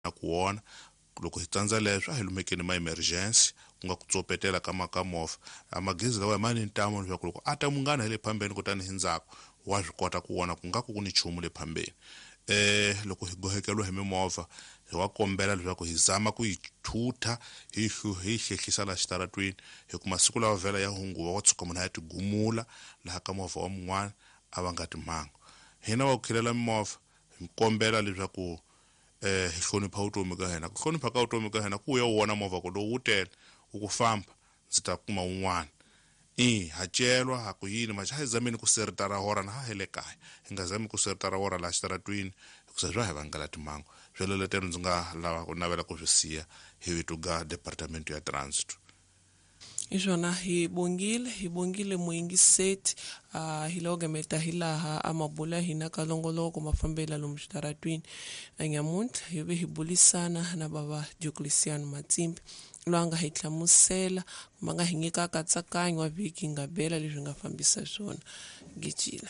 na ku wona. Loko hi tsandza leswo, a hi lumekeni ma emergency, ku nga ku tsopetela ka ka movha. A magezi lawa ma ni ntamu leswaku loko a ta munghana hi le phambeni kutani hi ndzhaku, wa swi kota ku vona ku nga ku ku ni nchumu le phambeni. Loko hi gohekeliwa hi mimovha, hi wa kombela leswaku hi zama ku yi thutha, hi hi hlehlisa laha xitaratwini, hi ku masiku lawa vhela ya hunguva, wa tshuka munhu a ya tigumula laha ka movha wa mun'wana a va nga timhangu. Hina wa ku khilela mimovha, hi kombela leswaku hi hlonipha vutomi ka hina. Ku hlonipha ka vutomi ka hina ku ya u vona movha ku lowu wu tele, u ku famba, ndzi ta kuma wun'wana. I ha celwa ha ku yini maxa, hi zameni ku seritara hora na ha hi le kaya, hi nga zami ku seritara hora laha xitaratwini, hikusa swa hi vangela timhangu. Sweleletelo ndzi nga lava ku navela ku swi siya hi vito ga departamento ya transit. Iswona, hi bongile, hi bongile muyingiseti. Hi loko gameta hi laha a mabula hina ka longoloko mafambela lomu xitaratwini nyamuntlha, hi ve hi bulisana na bava Diocleciano Matsimbi, loyi a nga hi hlamusela kumbe a nga hi nyika nkatsakanyo wa vhiki nga bela leswi nga fambisa swona gijila.